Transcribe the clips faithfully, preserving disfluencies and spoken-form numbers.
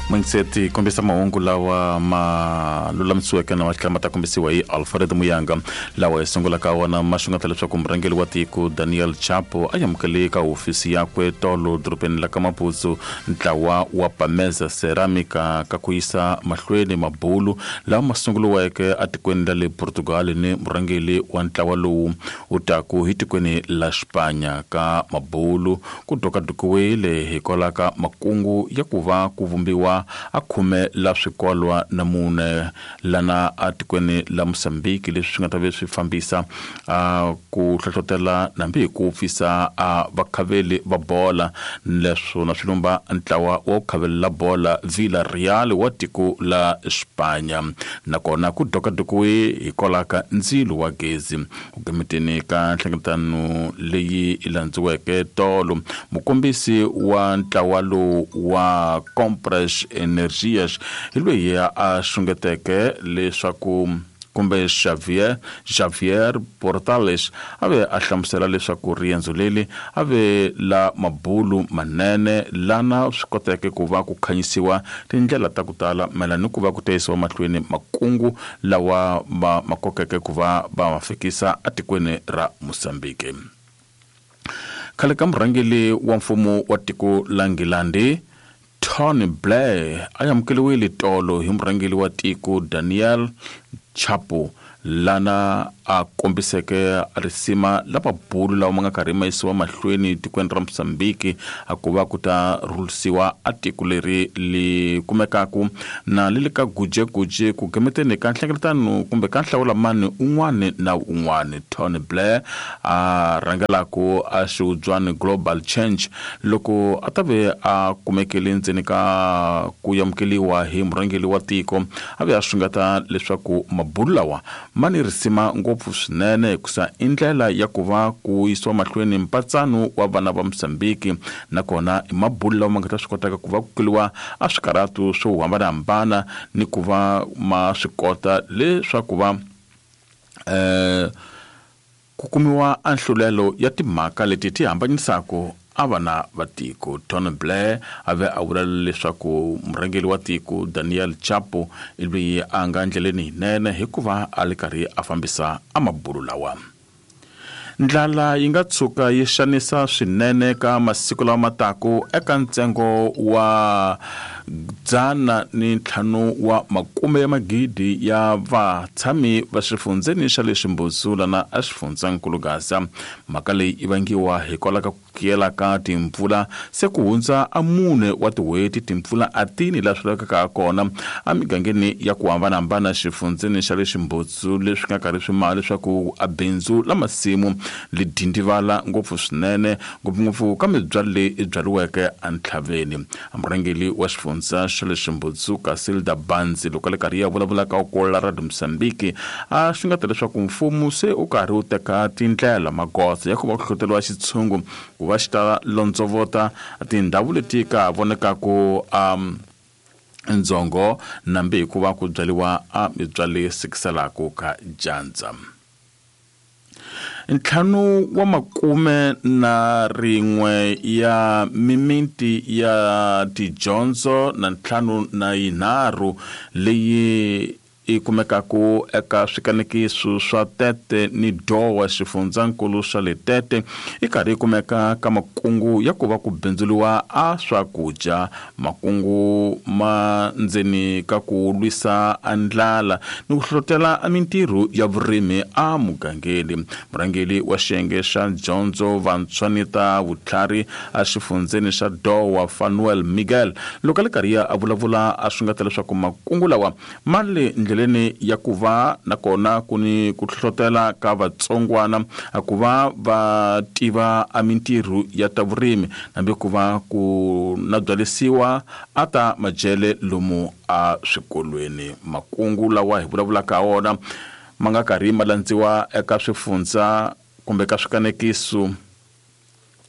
Mindset kombisa mahungu lawa ma lulamisiweke na ma tlhela ma ta kombisiwa hi Alfred Muyanga lawa hi sungulaka wona ma xungeta leswaku murhangeri wa tiko Daniel Chapo a amukele ka hofisi yakwe tolo dorobeni la ka Maputo ntlawa wa Pameza Ceramica ka ku yisa mahlweni mabulu lawa ma sunguriweke etikweni ra le Portugal ni murhangeri wa ntlawa lowu wu taku hi tikweni la Spanya ka mabulu ku dokadokiwile hikwalaho ka makungu ya ku va ku vumbiwa a khume la swikolwa na mune lana etikweni la Mozambique leswi swi nga ta ve swi fambisa a ku hlohlotela nambi hi ku pfisa a vakhaveli va bola leswo na swilumba ntlawa wa ku khavelela bola Villarreal wa tiko la Spanya nakona ku dokadokiwe hikwalaho ka ndzilo wa gezi ku gemeteni ka nhlengeletano leyi yi landziweke tolo mukombisi wa ntlawa lowu wa Compras Energias hi loyi a xungeteke leswaku kumbe Xavier Xavier Portales a ve a hlamusela leswaku riendzo leri a ve la mabulu manene lana swi koteke ku va ku khanyisiwa tindlela ta ku tala mayelana ni ku va ku tiyisiwa mahlweni makungu lawa ma ma kokeke ku va va ma fikisa etikweni ra Mozambique. Khale ka murhangeri wa mfumo wa tiko la Nghilandhi Tony Blair a amukeriwile tolo hi murhangeri wa tiko Daniel Chapo lana a kombiseke risima la mabulu lawa ma nga karhi ma yisiwa mahlweni tikweni ra Mozambique a ku va ku ta rhulisiwa a tiko leri li kumekaku na le le ka gujeguje ku gemeteni ka nhlengeletano kumbe ka nhlawulamani un'wani na un'wani. Tony Blair a rhangelaku a xiudzwani Global Change loko a ta ve a kumekele ndzeni ka ku amukeliwa hi murhangeri wa tiko a ve a xungeta leswaku mabulu lawa ma ni risima ngopfu swinene hikusa i ndlela ya ku va ku yisiwa mahlweni mpatsano wa vana va Mozambique nakona i mabulu lawa ma nga ta swi kotaka ku va ku keliwa a swikarhatu swo hambanahambana ni ku va ma swi kota leswaku va eh ku kumiwa a nhlulelo ya timhaka leti ti hambanyisaka a vana va tiko. Tony Blair a ve a vula leswaku murhangeri wa tiko Daniel Chapo i loyi a nga ndleleni yinene hikuva a li karhi a fambisa a mabulu lawa. Ndlala yi nga tshuka yi xanisa swinene ka masiku lawa ma taku eka ntsengo wa dzana ni ntlhanu wa makume ya magidi ya vatshami va xifundzeni xa le Ximbudzula lana a xifundzankulu Gaza. Mhaka leyi yi vangiwa hikwalaho ka ku kuyela ka timpfula se ku hundza a mune wa tin'hweti timpfula a tini laha swi lavekaka kona emigangeni ya ku hambanahambana xifundzeni xa le Ximbudzu leswi nga karhi swi maha leswaku a bindzu la masimu li dindivala ngopfu swinene ngopfungopfu ka mibyalo leyi byariweke entlhaveni. Murhangeri wa xifundza xa le Ximbudzu Casilda Banzi loko a le karhi ya vulavula ka Okola Radio Mozambique a xungeta leswaku mfumo se u karhi wu teka tindlela magoza ya ku va ku hlohloteliwa xitshungu ku va xi ta londzovota tindhawu leti ka vonekaku um ndzongo nambi hikuva ku byariwa a mibyalo leyi sikiselaka ka dyandza. Ntlhanu wa makume na rin'we ya mimiti ya tidyondzo na ntlhanu na yinharhu leyi yi kumekaku eka swikanekiso swa Tete ni Dowa xifundzankulu xa le Tete yi karhi yi kumeka ka makungu ya ku va ku bindzuliwa a swakudya makungu ma ndzeni ka ku lwisa a ndlala ni ku hlohlotela a mintirho ya vurimi a mugangeni. Murhangeri wa xiyenge xa dyondzo vantshwa ni ta vutlhari a xifundzeni xa Dowa Fanuel Miguel loko a le karhi a vulavula a xungeta leswaku makungu lawa ma le ndleleni ya ku va nakona ku ni ku hlohlotela ka vatsongwana a ku va va tiva a mintirho ya ta vurimi nambi ku va ku na byalisiwa a ta majele lomu a swikolweni. Makungu lawa hi vulavulaka wona ma nga karhi ma landziwa eka swifundza kumbe ka swikanekiso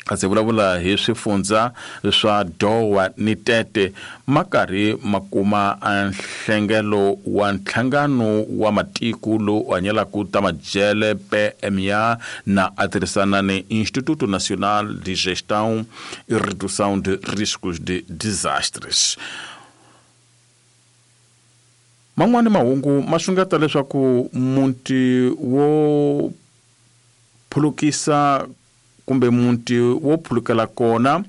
kasi vulavula hi swifundza swa Dowa ni Tete ma karhi ma kuma a nhlengelo wa nhlangano wa matiko lowu hanyelaka ta majele P M A na a tirhisana ni Instituto Nacional de Gestão e Redução de Riscos de Desastres. Man'wani mahungu ma xungeta leswaku muti wo phulukisa kumbe muti wo phulukela kona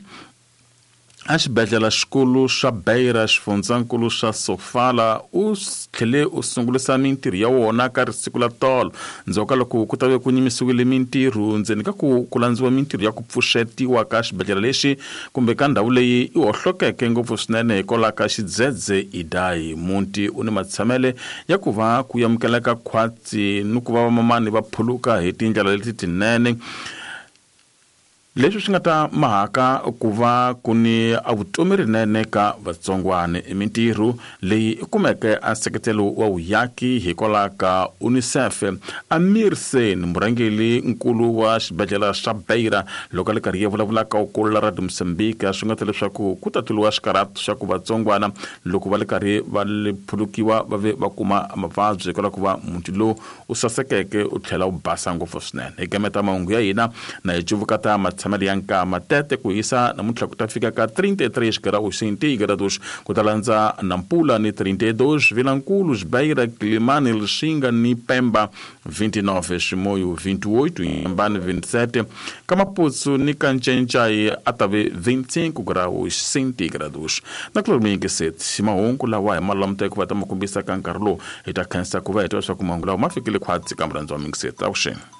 a xibedhlele xikulu xa Beira xifundzankulu xa Sofala u tlhele u sungulisa mintirho ya wona ka risiku la tolo ndzhaku ka loko ku ta ve ku nyimisiwile mintirho ndzeni ka ku ku landziwa mintirho ya ku pfuxetiwa ka xibedhlele lexi kumbe ka ndhawu leyi i hohlokeke ngopfu swinene hikwalaho ka xidzedze Idai. Muti u ni matshamele ya ku va ku amukeleka khwatsi ni ku va vamamani va phuluka hi tindlela leti tinene, leswi swi nga ta mahaka ku va ku ni a vutomi rinene ka vatsongwana. I mintirho leyi i kumeke a nseketelo wa vuyaki hikwalaho ka UNICEF. Amir Sen, murhangeri nkulu wa xibedhlele xa Beira, loko a le karhi ya vulavula ka ukulu Radio Mozambique, swi nga ta leswaku ku ta tluliwa xikarhatu xa ku vatsongwana loko va le karhi va le phulukiwa va ve va kuma mavabyi hikwalaho ku va muti lowu u sasekeke u tlhela u basa ngopfu swinene. Hi gameta mahungu ya hina na hi cuvuka ta matshamelo ya nkama tete ku hisa namuntlha ku ta fika ka trinta e três graus centígrados, ku ta landza Nampula ni trinta e dois, Vilanculos, Beira, Quilimane, Lixinga ni Pemba vinte e nove, Chimoio vinte e oito, Inhambane vinte e sete, Kamapuso ni Kanchencai a ta ve vinte e cinco graus centígrados. Na Clomingue sete, mahungu lawa hi malamute ku va ta ma kombisa ka nkarhi lowu hi ta khensa ku va hi twa leswaku mahungu lawa ma fikile khwatsi ka murhandzi wa Mingiseti. Avuxeni.